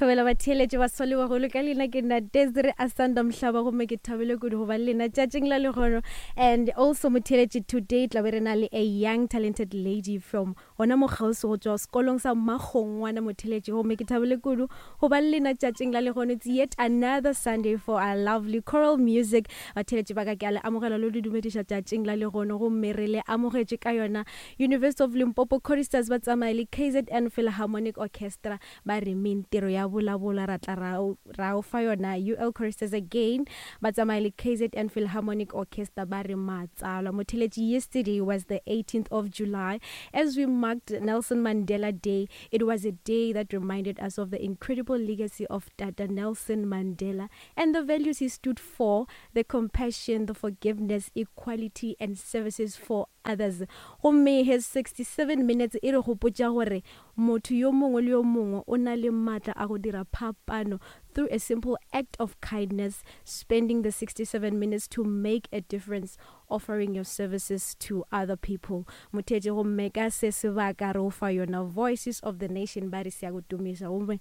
Thobela batheeletši baswa le bagolo ka leina ke nna Desiree Asanda Mhlaba gomme ke thabile kudu go ba le lena tšatšing la lehono. And also motheeletši, today tla be re na le a young talented lady from gona mo kgauswi go tšwa sekolong sa Makgongwana motheeletši, gomme ke thabile kudu go ba le lena tšatšing la lehono. It's yet another Sunday for our lovely choral music. Batheeletši ba ka, ke a le amogela le le dumediša tšatšing la lehono, gomme re le amogetše ka yona University of Limpopo Choristers ba tsamaye le KZN Philharmonic Orchestra ba re mentiro ya bolabola ra tla ra ra o fa yona. UL Choristers again ba tsamaye le KZN Philharmonic Orchestra ba re matsalwa. Motheletši, yesterday was the 18th of July as we marked Nelson Mandela Day. It was a day that reminded us of the incredible legacy of Tata Nelson Mandela and the values he stood for, the compassion, the forgiveness, equality and services for others. Gomme his 67 minutes e re gopotša gore motho yo mongwe le yo mongwe o na le maatla a go dira phapano through a simple act of kindness, spending the 67 minutes to make a difference, offering your services to other people. Motheetši, gomme ka se sebaka re o fa yona Voices of the Nation ba re se ya go tumiša. Gomme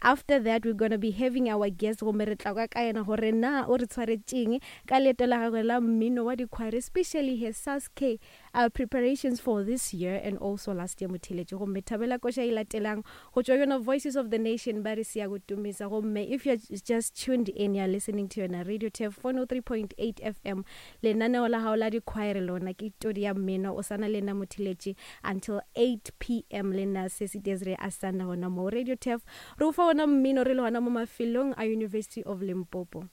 after that we're gonna be having our guest, gomme re tla kwa ka yena gore na o re tshwaretšeng ka leeto la gagwe la mmino wa dikhware, especially his SASK preparations for this year and also last year. Motheeletši, gomme thabela koša e latelang go tšwa yona Voices of the Nation ba re se ya go tumisa. Gomme if you're just tuned in, you're listening to yona Radio Turf 103.8 FM, lenaneo la gago la dikhwaere, lona ke todi ya mmino. O sana le nna motheeletši until 8 pm, le nna Sesi Desiree Asanda gona mo Radio Turf, re o fa ona mmino re le gona mo mafelong a University of Limpopo.